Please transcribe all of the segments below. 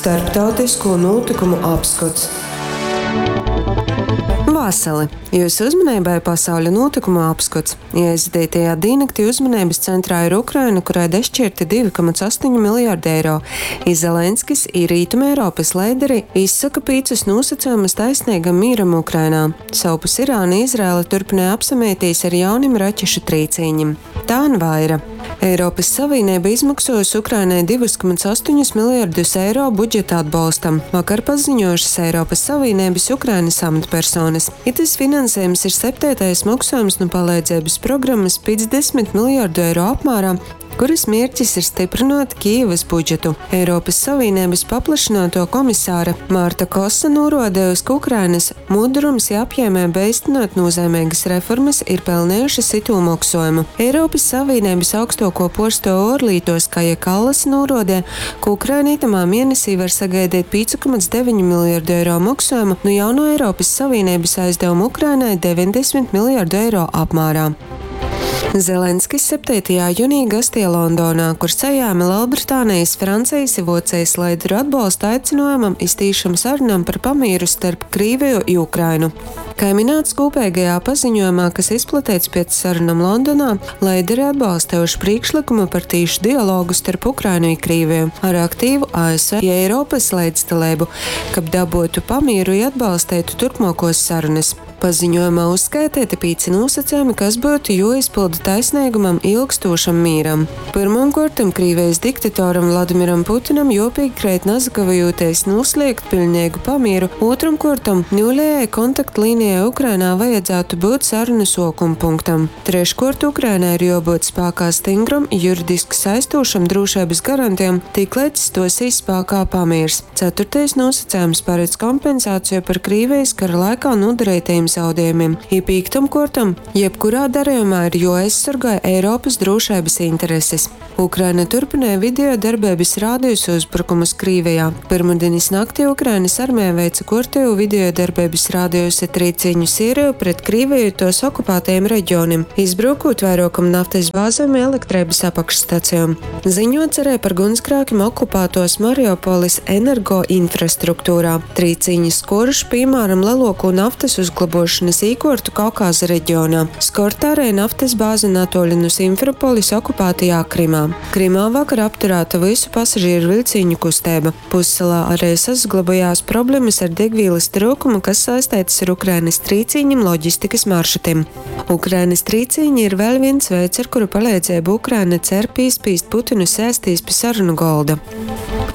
Starptautisko nūtykumu apskots. Vasali! Jūsu uzmanībai pasauļa nūtykumu apskots. Ieaizvadītajā dīnnaktī uzmaneibys centrā ir Ukraina, kurai dašķierti 2,8 miljārdi eiro, i Zelenskis, i Rītumeiropys leideri izsoka pīcus nūsacejumus taisneigam mīram Ukrainā. Sovpus Irāna i Izraela turpynoj apsameitīs ar jaunim raķešu trīcīņim. Tān vaira. Eiropys Savīneiba izmoksuojusi Ukrainai 2,8 miljardus eiro budžeta atbolstam, vakar paziņuojušys Eiropys Savīneibys Ukrainys amatpersonys. Itys finansejums ir septeitais moksuojums nu paleidzeibys programys 50 miljardu eiro apmārā, kurys mierķis ir styprynuot Kijivys budžetu. Eiropys Savīneibys paplašynuotuo komisāra Marta Kosa nūruodejusi, ka Ukrainys Mudrums i apjiemeiba eistynuot nūzeimeigys reformys ir pelnejušys itū moksuojumu. Eiropys Savīneibys augstuokuo puorstuova uorlītuos Kaja Kallasa nūruodeja, ka Ukraina itamā mienesī var sagaideit 5,9 miljardu eiro moksuojumu nu jaunuo Eiropys Savīneibys aizdavuma Ukrainai 90 miljardu eiro apmārā. Zelenskis septeitajā junī gasteja Londonā, kur sajēme Lelbritānejis, Francejis i Vuocejis leideru atbolstu aicynuojumam iz tīšom sarunom par pamīru starp Krīveju i Ukrainu. Kai mināts kūpeigajā paziņuojumā, kas izplateits piec sarunom Londonā, leideri atbalstejuši prīšklykumu par tīšu dialogu starp Ukrainu i Krīveju ar aktīvu ASV i Eiropys leidzdaleibu, kab dabuotu pamīru i atbalsteitu turpmuokuos sarunys. Paziņuojumā uzskaiteiti pīci nūsacejumi, kas byutu juoizpylda taisneigumam i ilgstūšam mīram. Pyrmom kuortom, Krīvejis diktatoram Vladimiram Putinam juopīkreit nasakavejūtīs nūsliegt piļneigu pamīru, ūtrom kuortom, niulejai kontaktlīnejai Ukrainā vajadzātu byut sarunu suokumpunktam. Treškuort, Ukrainai ir juobyut spākā styngrom i juridiski saistūšom drūšeibys garantejom, tikleidz stuosīs spākā pamīrs. Ceturtais nūsacejums paredz kompensāciju par Krīvejis kara laikā nūdareitajim zaudejumim. I pīktom kuortom, jebkurā darejumā ir juoaizsorgoj Eiropys drūšeibys interesis. Ukraina turpynoj video darbeibys rādiusa uzbrukumus Krīvejā. Pyrmudinis naktī Ukrainys armeja veice kuortejū video darbeibys rādiusa trīcīņu siereju pret Krīveju i tuos okupātajim regionim, izbrukūt vairuokom naftys bāzem i elektreibys apakšstacejom. Ziņuots ari par guņsgrākim okupātuos Mariupolis energoinfrastruktūrā. Trīcīņi skuoruši, pīmāram, leluokū naftys uzglobuošonys īkuortu Kaukāza regionā. Skorta ari naftys bāze natuoļi nu Simferopolis okupātajā Krimā. Krimā vakar apturāta vysu pasažīru viļcīņu kusteiba. Pussalā ari sasaglobojās problemys ar degvīlys tryukumu, kas saisteitys ar Ukrainys trīcīņim loģistikys maršrutim. Ukrainys trīcīņi ir vēļ vīns veids, ar kuru paleidzeibu Ukraina cer pīspīst Putinu sēstīs pi sarunu golda.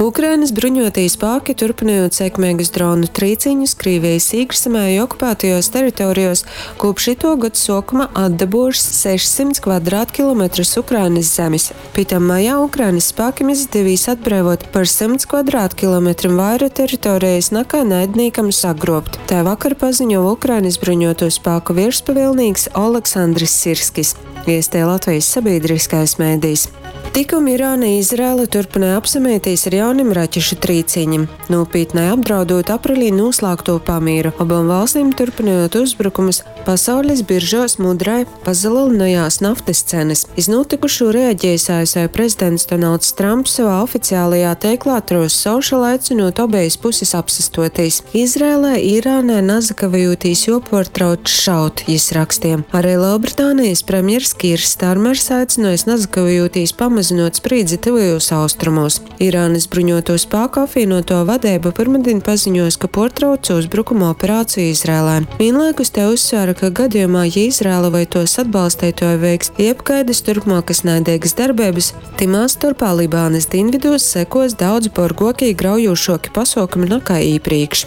Ukrainys bruņuotī spāki, turpynojūt sekmeigus dronu trīcīņus Krīvejis īkšzemē i okupātajuos teritorejuos, kūpš ituo gods suokuma atdabuojušs 600 kvadratkilometrus Ukrainys zemis. Pi tam majā Ukrainys spākim izdevīs atbreivuot par symts kvadratkilometrim vaira teritorejis nakai naidnīkam sagruobt, tai vakar paziņova Ukrainys bruņuotūs spāku vierspavielnīks Oleksandrs Sirskis, viesteja Latvejis sabīdryskais medijs. Tikom Irāna i Izraela turpynoj apsameitīs ar jaunim raķešu trīcīņim, nūpītnai apdraudūt aprelī nūslāgtū pamīru, obom valstīm turpynojūt uzbrukumus Pasaulis biržuos mudrai pasalelynojās naftys cenys. Iz nūtykušū reagiejs ASV prezidents Donalds Tramps sovā oficiālajā teiklā Truth Social aicynūt obejis pusis apsastuotīs. Izraelai i Irānai nasakavejūtīs juopuortrauc šaut, jis raksteja. Ari Lelbritānejis premjers Kīrs Starmers aicynuojs nasakavejūtīs pamazynuot sprīdzi Tyvajūs Austrumūs. Irānys bruņuotū spāku apvīnuotuo vadeiba pyrmadiņ paziņuos, ka puortrauc uzbrukuma operāciju Izraelai. Vīnlaikus te uzsvēra, ka gadījumā, ja Izraela voi tuos atbalsteituoji veiks jebkaidys turpmuokys naideigys darbeibys, tymā storpā Libānys dīnvidūs sekuos daudz borguoki i graujūšuoki pasuokumi nakai īprīkš.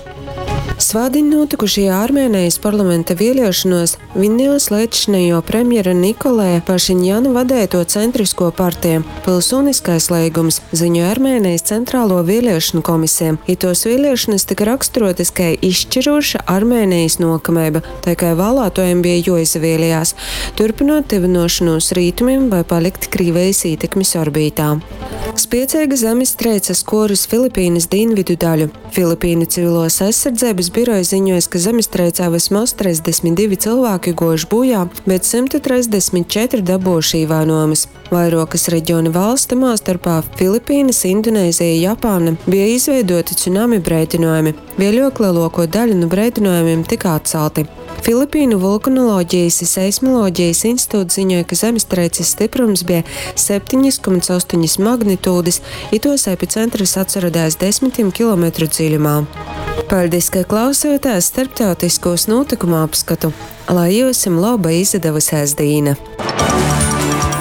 Svātdiņ nūtykušajā Armēnejis parlamenta vieliešonuos Vinējos leidzšinejuo premjera Nikolēja Pašiņjana vadeituo Centriskuo parteja, Pilsūniskais leigums, ziņoj Armēnejis Centraluo vieliešonu komiseja. Ituos vieliešonys tyka raksturuotys kai izšķirūša Armēnejis nuokameiba, tai kai vālātuojim bija juoizavielejās, turpynuot tyvynuošonūs Rītumim voi palikt Krīvejis ītekmis orbītā. Spieceiga zemistreice skuorus Filipīnys dīnvidu daļu. Filipīnu civiluos aizsardzeibys. birojs ziņuojs, ka zemestreicē vysmoz 32 cylvāki guojuši būjā, bet 134 dabuojuši īvainuojumus. Vairuokys regiona valsts, tamā storpā Filipīnys, Indonezija i Japāna, bija izveiduoti cunami breidynuojumi. Vieļuok leluokuo daļa nu breidynojumim tyka atcalti. Filipīnu Vulkanologejis i seismoloģejis instituts ziņoj, ka zemestreicis styprums bija 7,8 magnitūdis i tuos epicentrs atsaroda aiz desmitim kilometru dziļumā. Paļdis, ka klausījāties starptautiskūs nūtykumu apskatu. Lai jiusim loba izadavusēs dīna!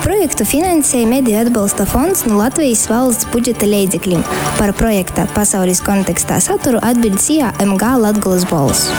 Projektu finansēja Mediju atbalsta fonds nu Latvejis valsts budžeta leidzeklim. Par projekta Pasaulis kontekstā saturu atbiļd SIA MG Latgolys bolss.